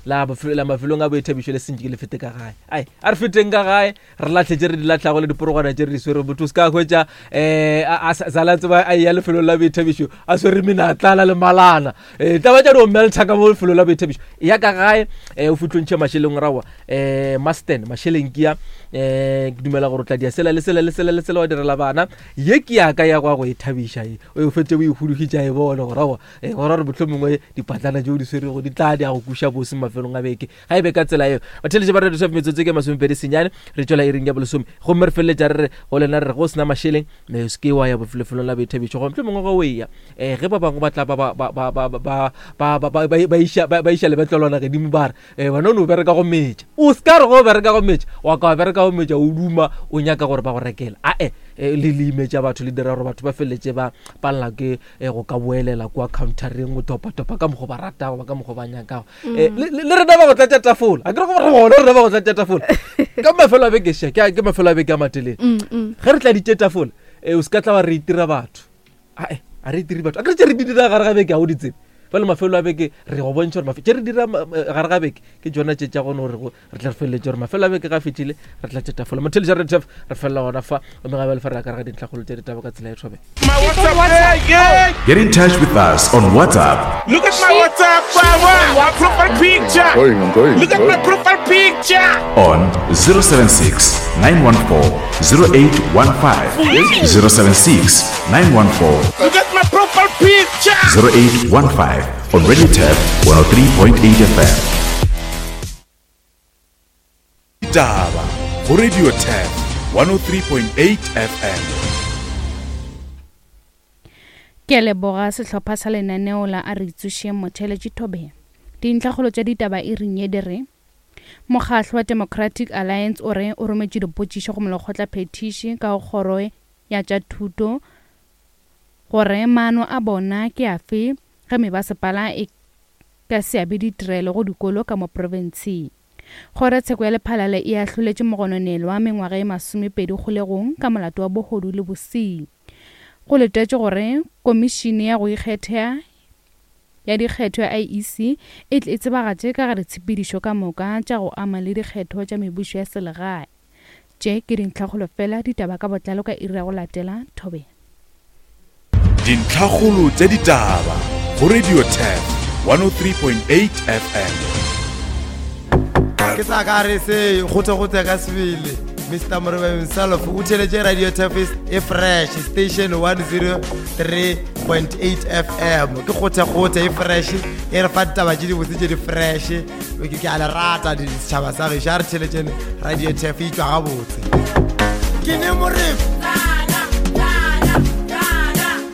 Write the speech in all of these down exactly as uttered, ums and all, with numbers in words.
La la mafelong a boithabišo le sentše ke le fete ka gae. Ai, a re feteng ka gae, re latlhe tše re di latlhago le diporogwana tše re di swere. Motho o se ka hwetša um a sala tseba a ya lefelong la boithabišo a swere menatlala le malana. Um taba tša di o melta ka mo lefelong la boithabišo. Ya ka gae um o fitlhontšhe mašeleng rawa um masten mašeleng ke ya um ke dumela gore o tla dia sela le sela le sela le sela wa direla bana. Ye ke ya ka ya go ya go e thabiša e o fetse o e hudugitša e bone gore aowa gore gore mohlomongwe dipatlana tšeo di swerego di tla di ya go kuša bose mafelong a beke. Ga e be ka tsela eo batheletše ba radio metsotso ke masomepedi senyane re tšwela iring ya bolesome gomme re feleletša re re go lena re re go sena mašeleng o se ke wa ya lefelong la boithabišo goba mohlomongwe ge o eya um ge ba bangwe ba tla ba iša lebetlelwana gedimo ba re bana o ne o bereka go metša o se ka re go bereka go metša wa ka wa bereka go metša o duma o nyaka gore ba go rekele ae le le imetša batho le dira gore batho ba feleletše ba palela ke go ka boelela kwa countereng go topa-topa ka mokgwa ba ratago ba ka mokgwa ba nyakago. Le rena ba go tlatša tafola a ke re gore gona rena ba go tlatša tafola ka mafelo a beke še ke mafelo a beke a matelele ge re tladitše tafola o se ka tla wa re itira batho ae a re itire batho a ke re tše re di dira gare ga beke ga o di tsebe fela mafelo a beke re go bontšha gore tše re dira gare ga beke ke tšona tše tša gone gore re tla re feleletše gore mafelo a beke ga fetile re tlatše tafola. Motheletša re tef re felela gona fa gomme ga bjale fa re ya ka re ga dintlhakgolo tša ditaba ka tsela e thobe. Get in touch with us on WhatsApp. Look at my WhatsApp, my profile picture. I'm going, I'm going, Look at my profile picture. On zero seven six, nine one four, zero eight one five. zero seven six, nine one four. Look at my profile picture. zero eight one five on Radio Turf one oh three point eight F M. Ditaba go Radio Turf one oh three point eight F M. Ke leboga sehlopha sa lenaneo la a re tsošeng motheletši Thobela. Dintlhakgolo tša ditaba e reng ye di re Mokgahlo wa Democratic Alliance o re o rometše dipotšišo go molekgotla phetiši ka go kgoro ya tša thuto gore maano a bona ke afe ge mebasepala e ka se abe ditirelo go dikolo ka mo profenseng. Kgorotsheko ya Lephalale e ahloletše mogononelwa mengwaga e masomepedi kgolegong ka molato wa bohodu le bosenyi. Go letetšwe gore komišene ya go ikgetha ya dikgetho ya I E C e tle e tsebagatše ka ga ditshepedišo ka moka tša go ama le dikgetho tša mebušo ya selegae. Tše ke dintlhakgolo fela ditaba ka botlalo ka iri ya go latela Thobela. Dintlhakgolo tša ditaba go Radio Turf one oh three point eight F M. Ke sa ka re se gote-gote ka sebele Mister Morebe himself o theletše Radio Turf e fresh station one oh three point eight F M. Ke gote-gote e fresh e re fa ditaba tše dibotse tše di fresh. Ke a le rata setšhaba sa gešo a re theletšeng Radio Turf e tšwa gabotse. Ke ne Morebe.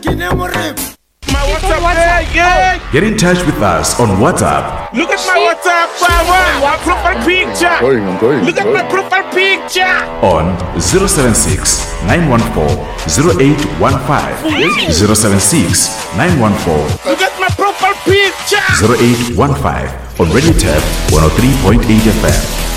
Ke ne Morebe. My WhatsApp, yeah. Get in touch with us on WhatsApp. Look at my WhatsApp, my profile picture. I'm going, I'm going, Look I'm at my going. profile picture. On zero seven six, nine one four, zero eight one five. zero seven six, nine one four. Look at my profile picture. zero eight one five on Radio Turf one oh three point eight F M.